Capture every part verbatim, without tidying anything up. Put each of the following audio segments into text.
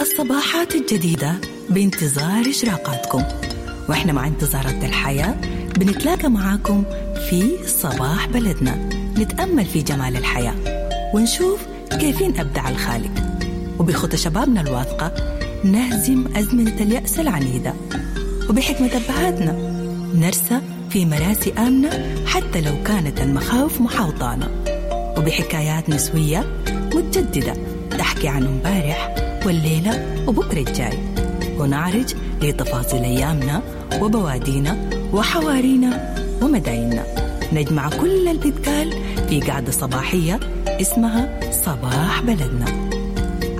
الصباحات الجديدة بانتظار إشراقاتكم، وإحنا مع انتظارات الحياة بنتلاقى معاكم في صباح بلدنا، نتأمل في جمال الحياة ونشوف كيفين أبدع الخالق، وبخطى شبابنا الواثقة نهزم أزمنة اليأس العنيدة، وبحكمة أبهاتنا نرسى في مراسي آمنة حتى لو كانت المخاوف محاوطانا، وبحكايات نسوية متجددة تحكي عن امبارح والليلة وبكرة الجاي، ونعرج لتفاصيل أيامنا وبوادينا وحوارينا ومدايننا. نجمع كل اللي بيتقال في قعدة صباحية اسمها صباح بلدنا.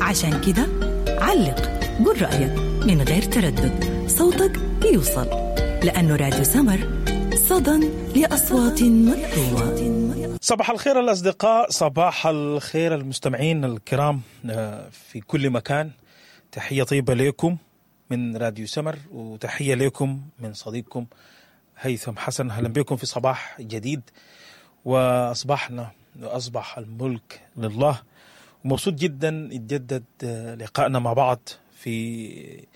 عشان كده علق، قول رأيك من غير تردد، صوتك بيوصل، لأنه راديو سمر صدى لأصوات مكتومة. صباح الخير الأصدقاء، صباح الخير المستمعين الكرام في كل مكان. تحية طيبة لكم من راديو سمر، وتحية لكم من صديقكم هيثم حسن. أهلا بكم في صباح جديد، وأصبحنا وأصبح الملك لله. ومبسوط جدا يتجدد لقائنا مع بعض في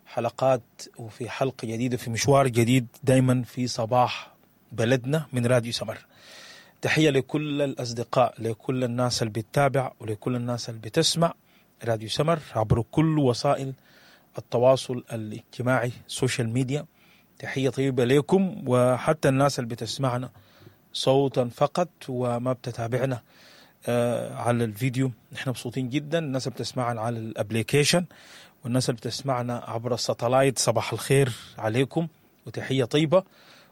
حلقات وفي حلقة جديدة، في مشوار جديد دايما في صباح بلدنا من راديو سمر. تحية لكل الأصدقاء، لكل الناس اللي بتتابع ولكل الناس اللي بتسمع راديو سمر عبر كل وسائل التواصل الاجتماعي، social media. تحية طيبة لكم، وحتى الناس اللي بتسمعنا صوتا فقط وما بتتابعنا على الفيديو، نحن مبسوطين جدا. الناس اللي بتسمعنا على ال application والناس اللي بتسمعنا عبر ال satellite، صباح الخير عليكم وتحية طيبة،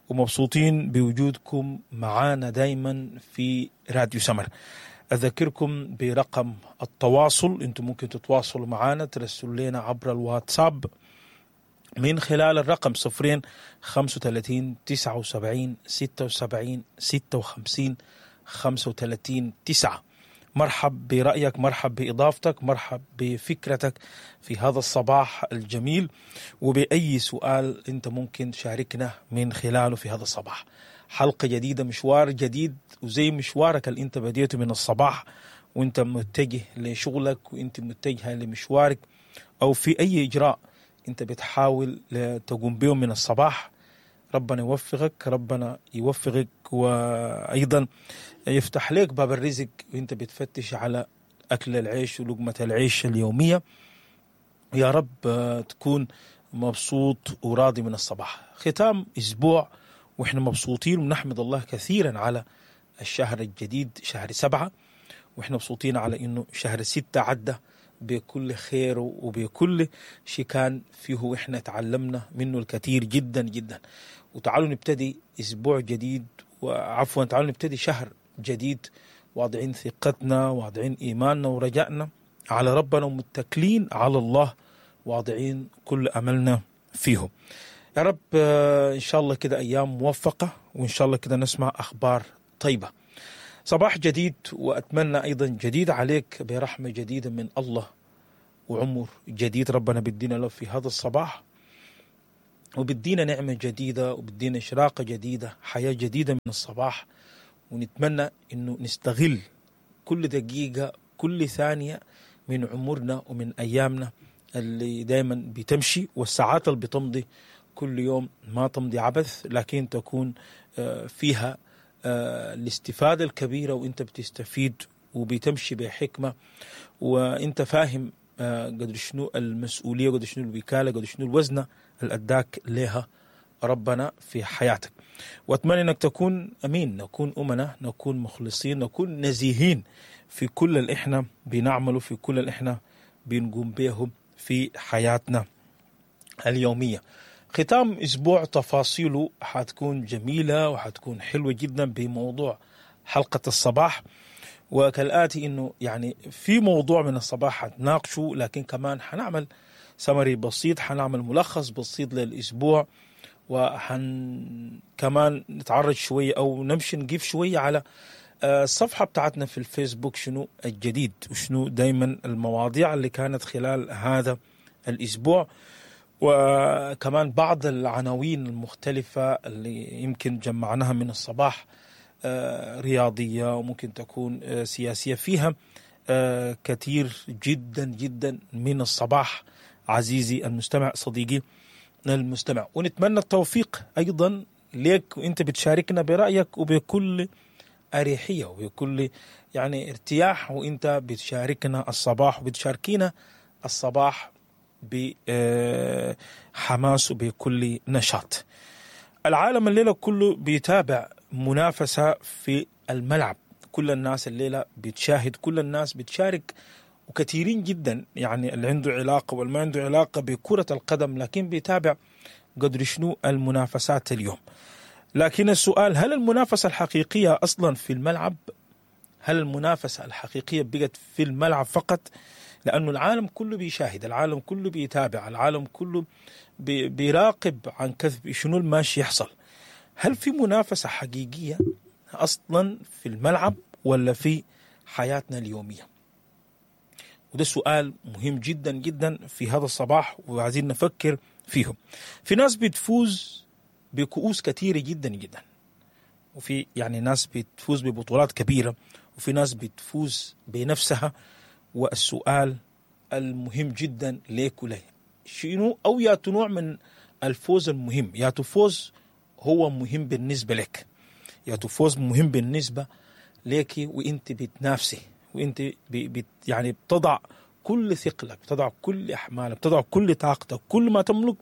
ومبسوطين بوجودكم معانا دايما في راديو سمر. أذكركم برقم التواصل، انتم ممكن تتواصلوا معانا، ترسلوا لنا عبر الواتساب من خلال الرقم صفرين خمسة وثلاثين تسعة وسبعين ستة وسبعين ستة وخمسين خمسة وثلاثين تسعة. مرحب برأيك، مرحب بإضافتك، مرحب بفكرتك في هذا الصباح الجميل، وبأي سؤال أنت ممكن تشاركنا من خلاله في هذا الصباح. حلقة جديدة، مشوار جديد، وزي مشوارك اللي أنت بديته من الصباح وأنت متجه لشغلك وأنت متجهة لمشوارك أو في أي إجراء أنت بتحاول تقوم به من الصباح. ربنا يوفقك، ربنا يوفقك، وأيضا يفتح لك باب الرزق وانت بتفتش على أكل العيش ولقمة العيش اليومية. يا رب تكون مبسوط وراضي من الصباح. ختام أسبوع وإحنا مبسوطين، ونحمد الله كثيرا على الشهر الجديد شهر سبعة، وإحنا مبسوطين على إنه شهر ستة عدى بكل خير وبكل شيء كان فيه، وإحنا تعلمنا منه الكثير جدا جدا. وتعالوا نبتدي أسبوع جديد، وعفوا تعالوا نبتدي شهر جديد واضعين ثقتنا، واضعين إيماننا ورجائنا على ربنا، ومتكلين على الله، واضعين كل أملنا فيه. يا رب إن شاء الله كده أيام موفقة، وإن شاء الله كده نسمع أخبار طيبة. صباح جديد، وأتمنى أيضا جديد عليك برحمة جديدة من الله وعمر جديد ربنا بدينا له في هذا الصباح، وبدينا نعمة جديدة، وبدينا إشراقة جديدة، حياة جديدة من الصباح. ونتمنى إنه نستغل كل دقيقة، كل ثانية من عمرنا ومن أيامنا اللي دايما بتمشي، والساعات اللي بتمضي كل يوم ما تمضي عبث، لكن تكون فيها الاستفادة الكبيرة، وانت بتستفيد وبتمشي بحكمة، وانت فاهم قدر شنو المسؤولية، قدر شنو الوكالة، قدر شنو الوزنة اللي أداك لها ربنا في حياتك. وأتمنى أنك تكون أمين، نكون أمنا، نكون مخلصين، نكون نزيهين في كل اللي إحنا بنعمله، في كل اللي إحنا بنقوم به في حياتنا اليومية. ختام أسبوع تفاصيله حتكون جميلة وحتكون حلوة جدا بموضوع حلقة الصباح، وكالآتي إنه يعني في موضوع من الصباح حنناقشه، لكن كمان حنعمل سمري بسيط، حنعمل ملخص بسيط للأسبوع، وحن كمان نتعرج شوية أو نمشي نجيب شوية على الصفحة بتاعتنا في الفيسبوك شنو الجديد وشنو دايما المواضيع اللي كانت خلال هذا الأسبوع، وكمان بعض العناوين المختلفة اللي يمكن جمعناها من الصباح، رياضية وممكن تكون سياسية، فيها آه كثير جدا جدا من الصباح عزيزي المستمع، صديقي المستمع. ونتمنى التوفيق ايضا ليك وانت بتشاركنا برايك وبكل اريحية وبكل يعني ارتياح، وانت بتشاركنا الصباح وبتشاركينا الصباح بحماس وبكل نشاط. العالم الليلة كله بيتابع منافسه في الملعب، كل الناس الليلة بتشاهد، كل الناس بتشارك، وكثيرين جدا يعني اللي عنده علاقة والما عنده علاقة بكره القدم لكن بيتابع قدر شنو المنافسات اليوم. لكن السؤال، هل المنافسة الحقيقية اصلا في الملعب؟ هل المنافسة الحقيقية بقت في الملعب فقط؟ لانه العالم كله بيشاهد، العالم كله بيتابع، العالم كله بي- بيراقب عن كثب شنو الماشي يحصل. هل في منافسه حقيقية اصلا في الملعب ولا في حياتنا اليومية؟ وده سؤال مهم جدا جدا في هذا الصباح وعايزين نفكر فيه. في ناس بتفوز بكؤوس كثيرة جدا جدا، وفي يعني ناس بتفوز ببطولات كبيرة، وفي ناس بتفوز بنفسها. والسؤال المهم جدا ليك ولي، شنو او يا نوع من الفوز المهم؟ يا فوز هو مهم بالنسبة لك، يا فوز مهم بالنسبة ليك وانت بتنافسي، وانت بي بت يعني بتضع كل ثقلك، بتضع كل احمالك، بتضع كل طاقتك، كل ما تملك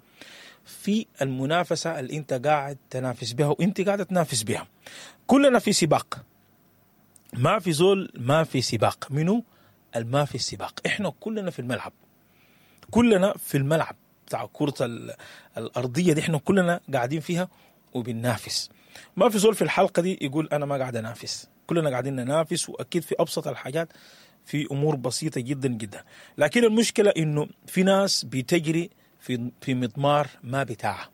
في المنافسة اللي انت قاعد تنافس بها وانت قاعدة تنافس بها. كلنا في سباق، ما في زول ما في سباق. منو الما في السباق؟ احنا كلنا في الملعب، كلنا في الملعب بتاع كرة ال- الأرضية دي، احنا كلنا قاعدين فيها وبننافس. ما في زول في الحلقة دي يقول أنا ما قاعد أنافس، كلنا قاعدين ننافس، وأكيد في أبسط الحاجات، في أمور بسيطة جدا جدا. لكن المشكلة إنه في ناس بتجري في في مضمار ما بتاعها،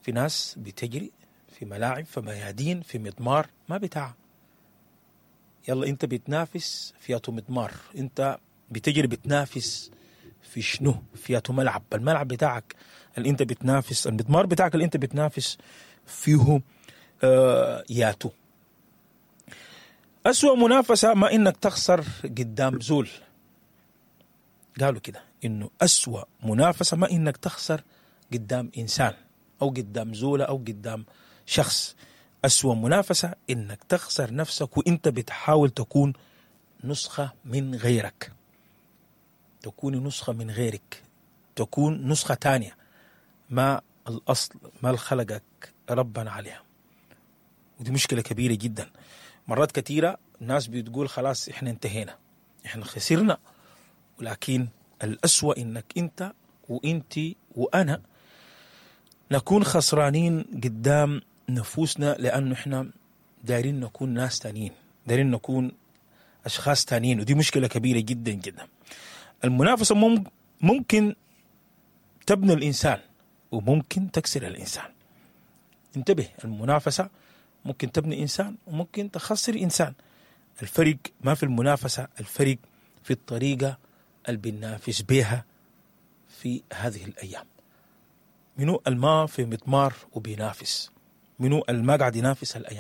في ناس بتجري في ملاعب، في ميادين، في مضمار ما بتاعها. يلا انت بتنافس في ياتو مضمار، انت بتجري بتنافس في شنو؟ في ياتو ملعب؟ الملعب بتاعك اللي انت بتنافس، المضمار بتاعك اللي انت بتنافس فيه آه ياتو. أسوأ منافسة ما انك تخسر قدام زول. قالوا كده انه أسوأ منافسة ما انك تخسر قدام انسان او قدام زولة او قدام شخص. أسوأ منافسة إنك تخسر نفسك وإنت بتحاول تكون نسخة من غيرك، تكون نسخة من غيرك، تكون نسخة تانية ما الأصل، ما الخلقك ربنا عليها. ودي مشكلة كبيرة جدا. مرات كثيرة الناس بتقول خلاص إحنا انتهينا، إحنا خسرنا، ولكن الأسوأ إنك أنت وإنت وأنا نكون خسرانين قدام نفوسنا، لأنه إحنا دايرين نكون ناس تانيين، دايرين نكون أشخاص تانيين، ودي مشكلة كبيرة جدا جدا. المنافسة ممكن تبني الإنسان وممكن تكسر الإنسان. انتبه، المنافسة ممكن تبني إنسان وممكن تخسر إنسان. الفرق ما في المنافسة، الفرق في الطريقة اللي بننافس بها في هذه الأيام. منو الما في مضمار وبينافس؟ منو الما قاعد ينافس الأيام؟